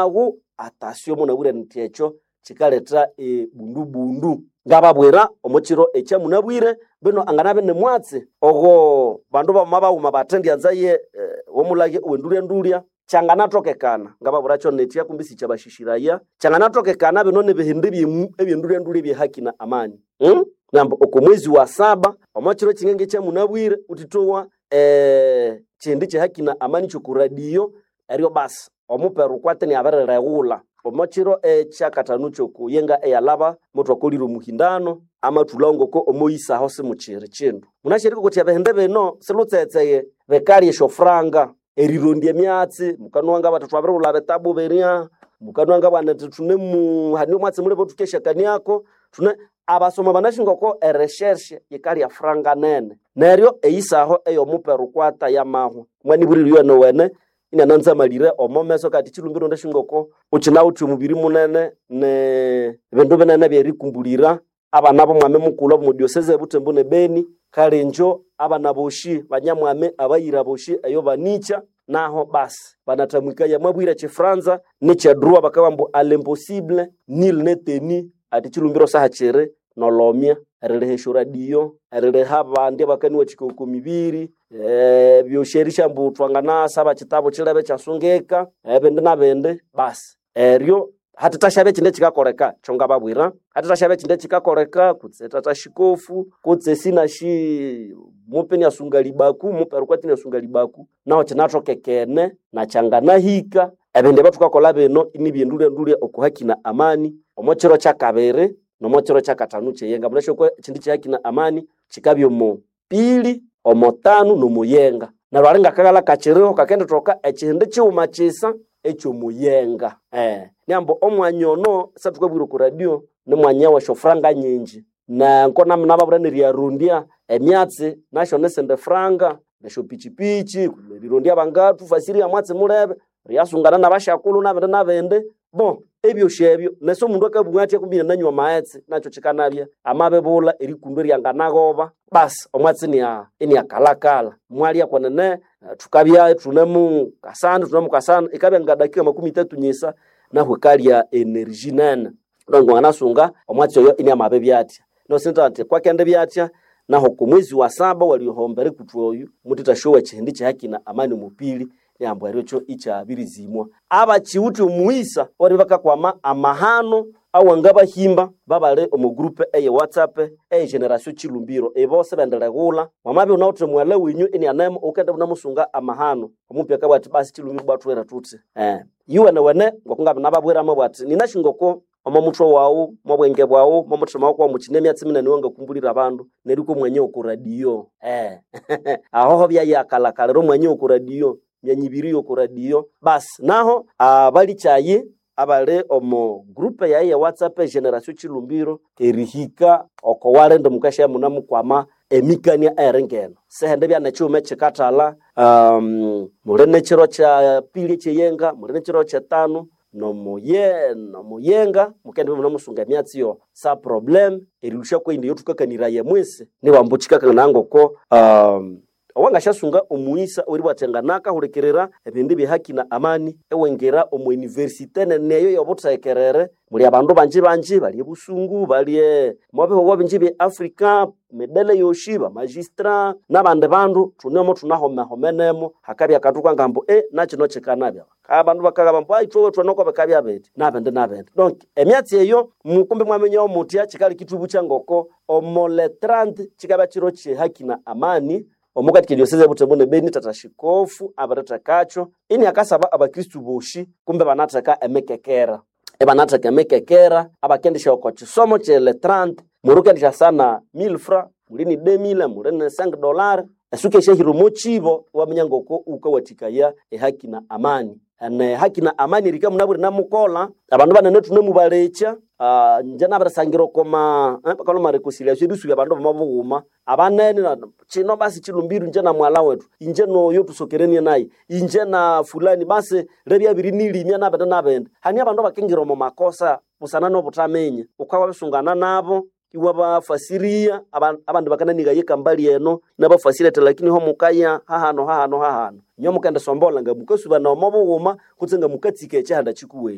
Ago atasyo munabwire nti ekyo kikaleta ebundubundu. Ngababwira omo kiro ekyamunabwire bino anganabe ni mwatsi ogo bandu bamama baghuma bathendyanzaye omulage owendulya-ndulya kyanganatokekana. Ngababwira nitya kumbi sikyabashishiraya, kyanganatokekana bino nibihindi ebyendulya-ndulya ebyehaki na amani. Nambu oko mwezi wa saba omo kiro kyingenge ekyamunabwire wuthithowa kihindi kyehaki na amani kyoku radio, eryo basi omupera ukwate iniabirireghulha. Omo kiro ekyakathanu kyokuyenga eyalhaba muthwakolire omuhindano amathulhawo ngoko omoyisaho simukyiri kindu. Munasi erikokotya ebihindi bino silutseghtseghe bikalya esyofuranga, erirondya emyatsi, mukanowa ngabathi thwabirighulha bitabu birya, mukanowa ngabana indi thunemu hane omwatsi mulebe thukesyakaniako, thune abasoma banasi ngoko ereshershe yikalya franga nene. Neryo eyisaho ey'omupera ukwata yamahwa. Mwanibwirire iyowene iniananzamalire omo meso kati chilumbiro ndasi ngoko ukinawithe omubiri munene ne bindu binene ebyerikumbulira abana b'omwami mukulhu omo diocese e Butembo ne Beni, kale injo abana boshi banyamwami abayira boshi eyo banikya naho basi banathamwikaya mwabwire ekyifranza nekyedroit bakabugha ambu à l'impossible nul n'est tenu ati chilumbiro sahakyiri nolomya eririha esyoradio, eririha abandi abakaniwathikaya oko mibiri, ebyosi erisya ambu thwanganasaba kyitabu kyilebe ekyasungika, ebindi nabindi basi eryo hathithasyabya ekyindi ekyikakoleka kyongababwira, hathithasyabya ekyindi ekyikakoleka kutse tata shikofu kutse sinashi mupe iniasunga libaku mupera ukwatsi iniasunga libaku naho kyinathokekene nakyanganahika. Ebindu ebyathukakolha bino inibyendulya-ndulya oko haki na amani omo kiro kyakabiri nomo kiro kyakathanu kyeyenga. Munasi okwa ekyindi kyehaki na amani kyikabya omo pili, omo tanu nomuyenga. Neryo ali ngakaghalha kakyiriho kakendithoka ekyindi kighuma kyisa ekyomuyenga. Niambu omwanya ono sathukabwira oko radio nimwanya wesyofuranga nyingi na nababwira neriyarondya emyatsi nasyo nisindi franga, nesyopichipichi, nerirondya abangathufasirya mwatsi mulebe, eriyasungana nabasyakulhu nabindi nabindi. Bo ebyosi ebyo nesi omundu akabugha athya kumbi inananywa amaghetse nakyo kyikanabya amabibulha erikundo eryanganaghoba basi omwatsi iniakalhakalha. Mwalya kwenene thukabya ithunemu kasana ithunemu kasana ikabya nga dakika makumi ithatu nyisa nahu ikalya energy nene. Donc wanganasunga omwatsi oyo iniamabibya athya. Nosinza kwakendibya athya nahu oko mwezi wa saba waliohomba erikuthwa oyu muthithasyowa ekyihindi kyehaki na amani omupili niambu eryo kyo ikyabirizimwa. Abakyiwithe omughisa bali bakakwama amahano awangabahimba babali omo group eye WhatsApp eye Generation Chilumbiro. Ibo sibendireghulha wamabya iwunawithe mughalha wenyu inianemu wukende iwunamusunga amahano. Omupi akabugha athi basi Chilumbiro ibwa thuhere thuthi. Yuwenewene ngokungabya nababwira amabugha athi ninasi ngoko omo muthwe waghu, mobwenge bwaghu, momuthima waku mukyine emyatsi minene eyangakumbulira abandu neryo ikwa omwanya w'oku radio. Ahoho byayakalhakalira omwanya w'oku radio, myanya ibiri y'oku radio. Basi naho abalikyayi abali omo group yayi ye WhatsApp e Generation Chilumbiro erihika oko walindi mukasya munamukwama emikania ey'eringeno. Sihindi bya nekighuma ekyikathalha, muli nekiro kya pili ekyeyenga, muli nekiro kyetanu nomuyenga mukendibya imunemusunga emyatsi yo sa problem erilhusya kweyindi eyathukakaniraya mwisi nibambu kyikakanganaya ngoko owangasyasunga omughisa oweribugha athi nganakahulikirira ebindu ebyehaki na amani iwingira omo university nene eyo y'obuthekerere muli abandu bangi bangi bali ebusungu, bali omo bihugho bingi ebye Africa, midele yosi, bamagistra nabandi bandu thunemo thunahomehomenemo hakabya akandu kangamba nakino kyikanabya. Abandu bakagamba ambu ithwe thwanoko bikabya bithi nabindi nabindi. Donc emyatsi eyo mukumbi mwaminya muthya kyikaleka ithwibukya ngoko omo le 30 kyikabya kiro kyehaki na amani omukathika ediocese e Butembo ne Beni tata shikofu abirithekakyo iniakasaba abakristu boshi kumbe banatheka emikekera. Ibanatheka emikekera abakendisya oko kisomo kye le 30 muli wukendisya 1000 francs, muli ni 2000, muli ni $5 esuka esyahira omo kibo iwaminya ngoko wukawathikaya ehaki na amani. Ne haki na amani erika munabwire namukolha abandu banene thunemubalekya, inje nabirisangira okoma bakalhwa reconciliation erisubya abandu bama bughuma abanene kino basi Chilumbiro inje na mughalha wethu, inje noyo thusokerenie nayi, inje na fulani basi lebya abirinilimya nabindi nabindi. Hane abandu abakingira omo makosa busana nobuthaminya, wukabya wabisungana nabo. Iwabafasiria abandi bakananiga yekambali eno nabafasirete, lakini ho mukaya hahano hahano hahano. Inyo mukendisombola nga mukasubana omo bughuma kutse nga mukatsika ekihanda kikuwenyu.